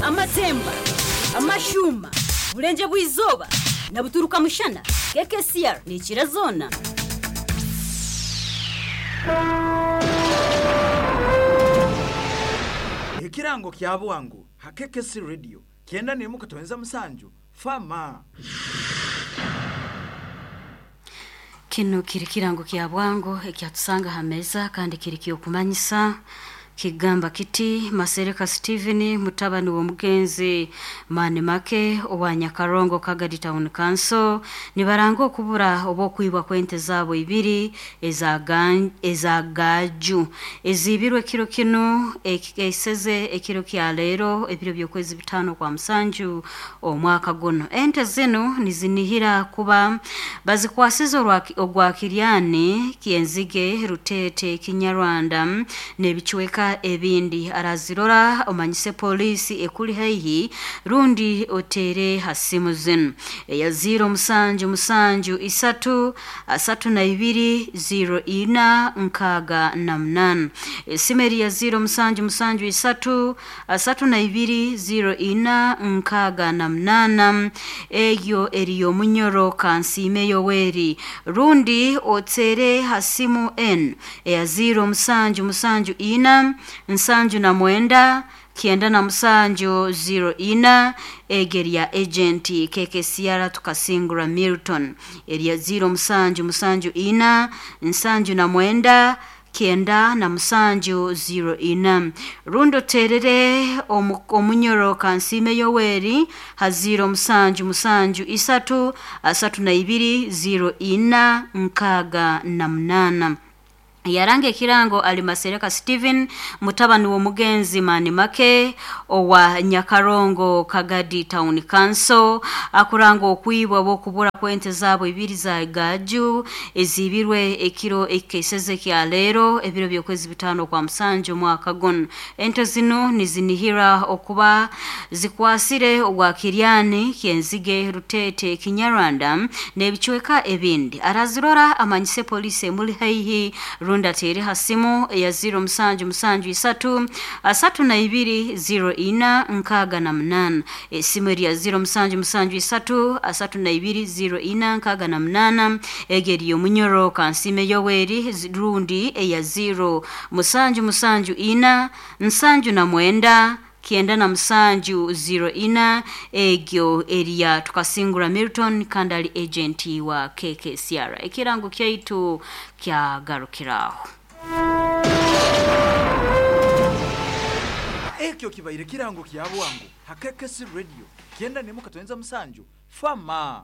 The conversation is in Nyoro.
Amatemba, Amashuuma, Burenje bw'izooba na Buturuka mushana, KKCR neekira zoona. Ekirango kya bwangu ha KKC Radio 91.7 Fama. Kinu kiri kirango kya bwangu ekyatusanga ha meza kandi kiri kyokumanyisa kigamba kiti Masereka Steven mutabani w'omugenzi Mani Make owa Nyakarongo Kagadi Town Council nibaranga okubura oba okwibwa kw'ente zaabo ibiri eza gaju ezibirwe kiro kinu ekiseze ekiro kya leero ebiro by'okwezi 5 kwa musanju omwaka guno. Ente zinu nizinihira kuba bazikwasize ogwa Kiryani Kienzige Rutete Kinyarwanda n'ebicweka ebindi. Arazirora omanyise polisi ekuli haihi rundi otere hasimu zinu eya 0 7 7 3 32 04 68. Esimu eri ya 0 7 7 3 32 04 68 eyo eri y'omunyoro Kansiime Yoweri rundi otere hasimu n eya 0 7 7 4 79 97 04 egeri ya agenti KKCR tukasingura Milton eri ya 0 7 7 4 79 97 04 rundo terere omunyoro Kansiime Yoweri ha 0 7 7 3 32 04 68. Yaranga ekirango ali Masereka Steven mutabani w'omugenzi Mani Make owa Nyakarongo Kagadi Town Council akuranga okwibwa bw'okubura kw'ente zaabo ibiri za gaju ezibirwe ekiro ekiseze kya leero ebiro by'okwezi 5 kwa musanju omwaka guno. Ente zinu nizinihira okuba zikwasire ogwa Kiryani Kienzige Rutete Kinyarwanda n'ebicweka ebindi. Arazirora amanyise polisi emuli haihi rundi atere hasimu ya 0 7 7 3 32 04 68. Esimu eri ya 0 7 7 3 32 04 68 egeri y'omunyoro Kansiime Yoweri rundi eya 0 7 7 4 79 97 04 egyo eriya tukasingura Milton kandi ali agenti wa KKCR. Ekirango kyaitu kyagarukiraho. Ekyo kibaire kirango kya bwangu ha KKC Radio 91.7 Fama.